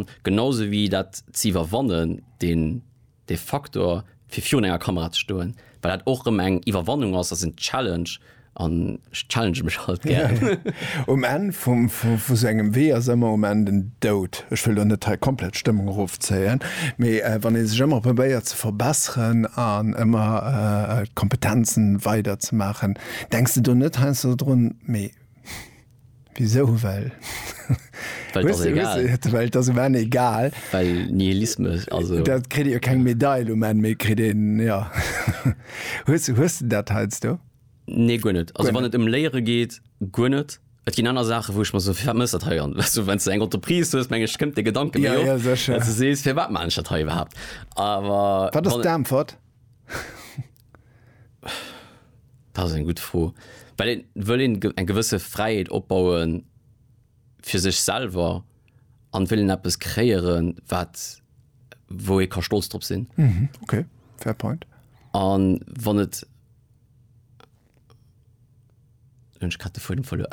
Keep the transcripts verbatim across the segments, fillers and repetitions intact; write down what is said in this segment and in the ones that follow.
An genauso wéi dat ze iwwerwannen, den de Faktor fir virun enger Kamera ze stoen, well dat och rëm eng Iwwerwannung ass, ass en Challenge an ech challenge mech halt gär. Um Enn vum vu vu sou engem Wee ass ëmmer um Enn den Doud. Ech wëll lo net hei komplett d'Stëmmung erofzéien, mee wann ee sech ëmmer probéiert ze verbesseren an ëmmer d'Kompetenzen weider ze maachen, denks de do net heiansdo drun, mee wisou? Well Well et ass egal. Well et ass um Enn egal. Well Nihilismus, also. Dat kritt ee jo keng Medail um Enn, mee kritt een, jo. Hues hues de dat heiansdo? Nee, guer net. Also wann et ëm Léiere geet, guer net. Et ginn aner Saachen, wou ech mer soen, firwat mëss dat hei? An weißt du, wann s de eng Entreprise hues, meng ech, kënnt dee Gedanke méi Ja, op, ja, sécher. dass du sees, firwat maan ech dat hei iwwerhaapt? Awer Wat ass wann d'Äntwert? Dat ass eng gutt Fro. Well een wëll een eng gewësse Fräiheet opbaue fir sech selwer an wëll een eppes kreéieren, wat wou ee ka stolz drop sinn. Mhm, okay, fair point. An wann et Hunn ech grad de Fuedem verluer.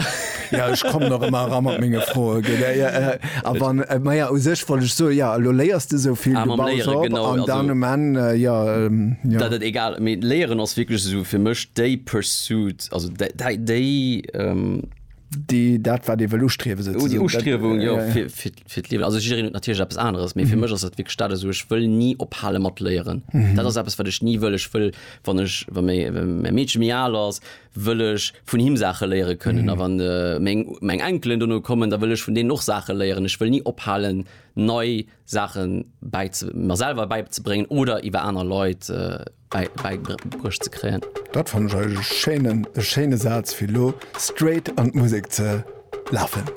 Ja, ech kommen och ëmmer era mat menge Froen, gell. Ja, ja, a wann, ma ja, u sech wollt ech soen, ja, elo léiers de esou vill, Ah, du mam baus Léieren, op genau, an also dann um Enn, ja, ja. Dat et egal, mee Léieren ass wierklech esou fir mech déi Pursuit, also déi, déi, déi, Déi, dat wat ee wëll ustriewen, déi souzesoen. Ustriewung, jo, fir, fir, fir d'Liewen. Also jiddereen huet natierlech eppes aneres, mee fir mech ass dat wierklech dat, esou ech wëll ni ophale mat léieren. Dat ass eppes wat ech ni wëll. Ech wëll, wann ech, wa mäi, wa mäi Meedche méi al ass, wëll ech vun him Saache léiere kënnen. A wann meng, meng Enkelen dono kommen, da wëll ech vun deenen och Saache léieren. Ech wëll ni ophalen nei Saache bäize, mer selwer bäizebréngen oder iwwer aner Leit bäibruecht ze kréien. Dat fannen ech eigentlech e schéinen, e schéine Saz fir elo straight an d'Musek ze lafen.